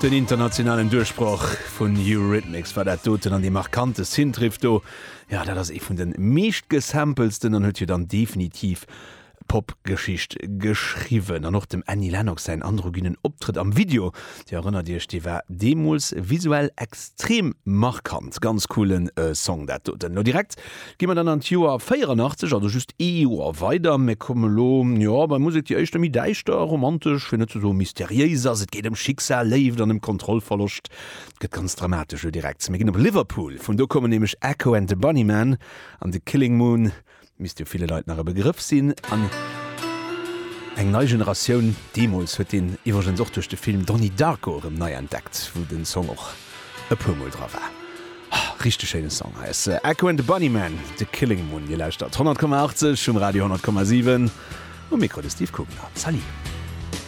Den internationalen Duerchbroch vun Eurythmics war dat doten an dee markante Synthriff do, jo dat ass ee vun de meeschtgesampelsten an huet jo dann definitiv Popgeschicht geschriwwen. An och dem Annie Lennox säin androgynen Optrëtt am Video, Dir erënnert Iech, dee war deemools visuell extrem markant. Ganz coolen Song dat doten. Lo direkt gi mer dann an d'Joer 84, also just ee Joer weider. Mir komme lo, jo, bei Musek, déi éischter méi däischter, romantesch, fir net ze soe mysteriéis ass. Et geet ëm Schicksal, Léift an ëm Kontrollverloscht. Et gëtt ganz dramatesch lo direkt. Mir ginn op Liverpool, vun do kommen nämlech Echo and the Bunnymen an The Killing Moon. Misst jo ville Leit nach e Begrëff sinn. An eng nei Generatioun deemools huet deen iwwregens och duerch de Film Donnie Darko erëm nei entdeckt, wou den Song och e puer Mol dra war. Richteg schéine Song. Hei ass Echo and the Bunnymen, The Killing Moon. Dir lauschtert 100,80 um Radio 100,7. Um Mikro de Steve Kugler. Salut.